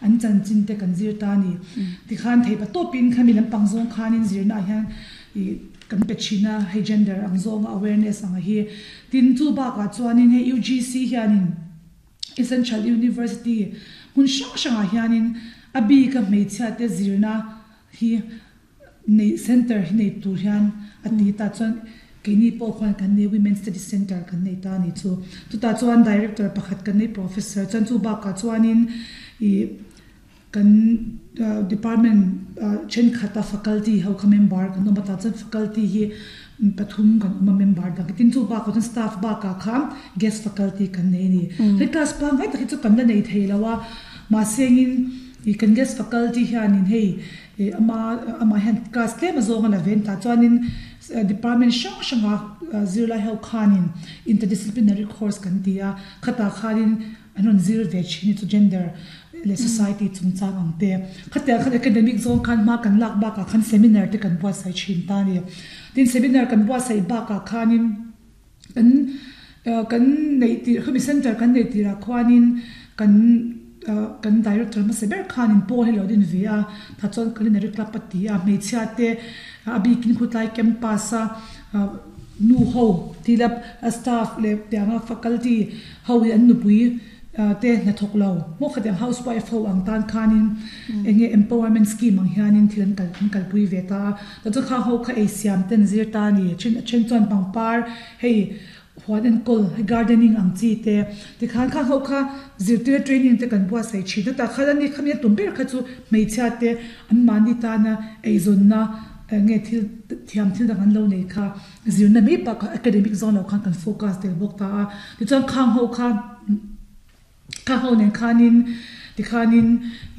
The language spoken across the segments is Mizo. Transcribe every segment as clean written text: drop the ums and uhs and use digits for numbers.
an chanchin te kan zir ta a ni. Tikhan theih patawpin khami lampang zawng khanin zirnaah hian ih kan pe thin a, hei gender ang zawnga awareness ang a hi. Tin, chu bakah chuanin hei UGC hianin Essential University hmun hrang hrangah hianin a bika hmeichhiate zirna hi nei center hi nei tur hian a ti ta chuan keini pawh khuan kan nei Women Studies Center kan nei ta a ni chu. Chutah chuan Director pakhat kan nei Professor chuan chu bakah chuanin ih kan department thenkhat a faculty ho kha member kan awm a tah chuan faculty hi pathum kan awm a member dang tin chu bakah chuan staff bakah khan guest faculty kan nei a ni. Hei class pangngai tak hi chu kan la nei thei lo a mahse engin ih kan guest faculty hianin hei Ih ama amah hian class tlem a zawng a la ven ta chuanin department hrang hranga zirlai ho khanin interdisciplinary course kan ti a, khatah khanin an rawn zir ve thin hi chu gender leh society chungchang ang te. Khatiang khan academic zawng khan hma kan lak bakah khan seminar te kan buatsaih thin ta a ni. Tin seminar kan buatsaih bakah khanin Kan kan neih tirh khami center kan neih tirah khuanin kan kan director hmasa ber khanin pawl hi lo din ve a, tah chuan culinary club a ti a, hmeichhia te a bikin khutlai campus a nu ho tila staff leh tianga faculty ho hi an nupui te hnathawk lo maw khatiang house wife ho ang tan khanin eng nge empowerment scheme ang hianin thil an kal an kalpui ve ta a tah chuan khang ho kha ei siam ten zir ta a ni then a then chuan pangpar hei huan enkawl hei gardening ang chi te tikhan khang ho kha zirtir training te kan buatsaih thin a tah khan ani khami a tum ber kha chu hmeichhia te an mahni tana eizawnna eng nge thil thiam thil dang an lo nei kha Zirna mai bakah academic zawng lo khan kan focus tel bawk ta a, tichuan khang ho kha khang ho nen khanin tikhanin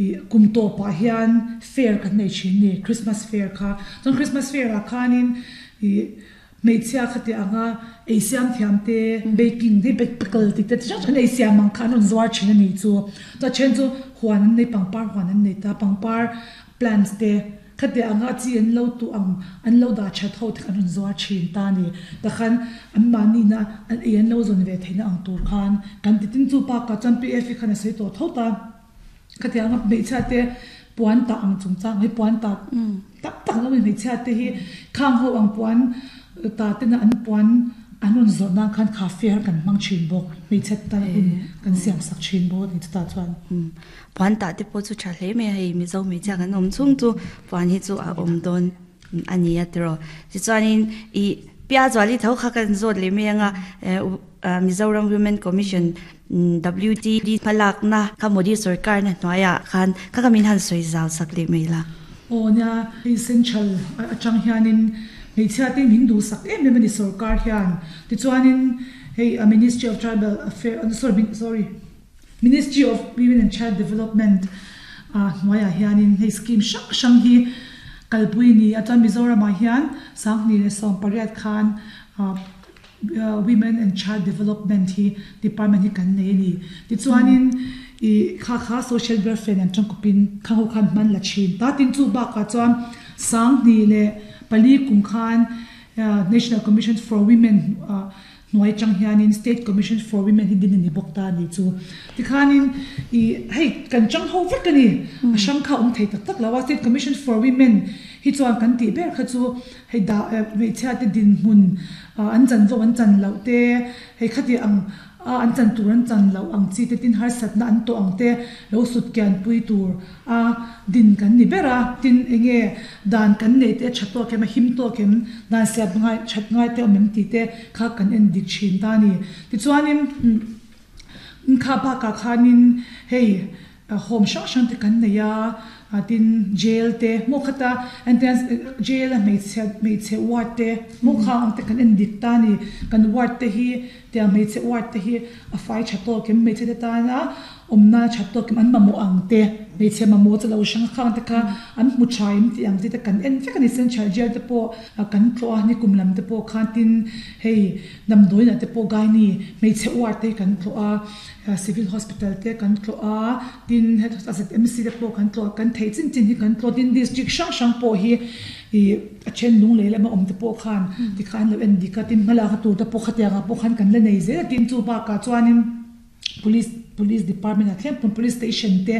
ih kum tawpah hian fair kan nei thin ni Christmas fair kha, chuan Christmas fair ah khanin ih hmeichhia khati anga ei siam thiam te baking te pickle tih te chi hrang hrang an ei siam ang kha an rawn zuar thin a ni chu, chuan then chu huan an nei pangpar huan an nei ta pangpar plants te. Khatiang anga chi an lo tuh ang, an lo dah that ho te kha an rawn zuar thin ta a ni. Takhan an mahni-na an ei an lo zawn ve theihna ang tur khan kan ti tin chu bakah chuan PF hi khan a sawi tawh tho ta. Khatiang anga hmeichhia te puan tah ang chungchang hi puan tah tak tak lo in hmeichhia te hi khang ho ang puan tah tena an puan an rawn zawrh nan khan kha fair kan hmang thin bawk. Hmeichhe tan hun kan siam sak thin bawk a ni chutah chuan. Puan tah te pawh chu tha hle mai a, hei Mizo hmeichhia kan awm chhung chu puan hi chu a awm dawn a ni a tiraw. Tichuanin ih Piazuali tho kha kan zawt leh mai anga Mizoram Women Commission WTD hmalakna kha Modi sorkarna hnuaiah khan kha kha min han sawi zau sak leh mai la. Aw nia, hei central atang hianin hmeichhia te min duhsak em em a ni sorkar hian. Tichuanin hei Ministry of Tribal Affairs sorry sorry. Ministry of Women and Child Development hnuaiah hianin hei scheme hrang hrang hi kalpui a ni a, chuan Mizoramah hian 2018 khan Women and Child Development hi department hi kan nei a ni. Tichuanin ih kha kha social welfare nen tangkawpin kha ho khan hman la thin ta. Tin chu bakah chuan 2004 kum khan National Commission for Women Hnuai chang hianin State Commission for Women hi din a ni bawk ta a nih chu. Tikhanin ih hei kan chang ho vek a ni. A hrang kha a awm thei tak tak lo a. State Commission for Women hi chuan kan tih ber kha chu hei dah hmeichhia te dinhmun an chanvo an chan loh te, hei khati ang a an chan tur an chan loh ang chi te tin harsatna an tawh ang te lo sut kian pui tur A din kan ni ber a, tin enge dan kan neih te a tha tawk em, a him tawk em, dan siam ngai that ngai te awm em tih te kha kan en dik thin ta a ni. Tichuanin kha bakah khanin hei home hrang hrang te kan nei a, tin jail te maw khata entirnan jail a hmeichhe hmeichhe ward te maw kha ang te kan en dik ta a ni. Kan ward te hi tiang hmeichhe ward te hi a fai tha tawk em hmeichhe te tana Awmna tha tawk an mamawh ang te, hmeichhe mamawh chu lo hrang khang te kha an hmu tha em tih ang te te kan en vek a ni. Central Jail te pawh kan tlawh a, nikum lam te pawh khan tin hei damdawiinah te pawh Gaini hmeichhe uar te hi kan tlawh a, Civil Hospital te kan tlawh a, tin ZMC te pawh kan tlawh a, kan theih chin chin hi kan tlawh a, tin district hrang hrang pawh hi ih a then lung lei lama awm te pawh khan tikhan an lo en dik a, tin hmalak a tur te pawh khatiangah pawh khan kan la nei zel a, tin chu bakah chuanin. Police Police Department ah thleng pawn Police Station te.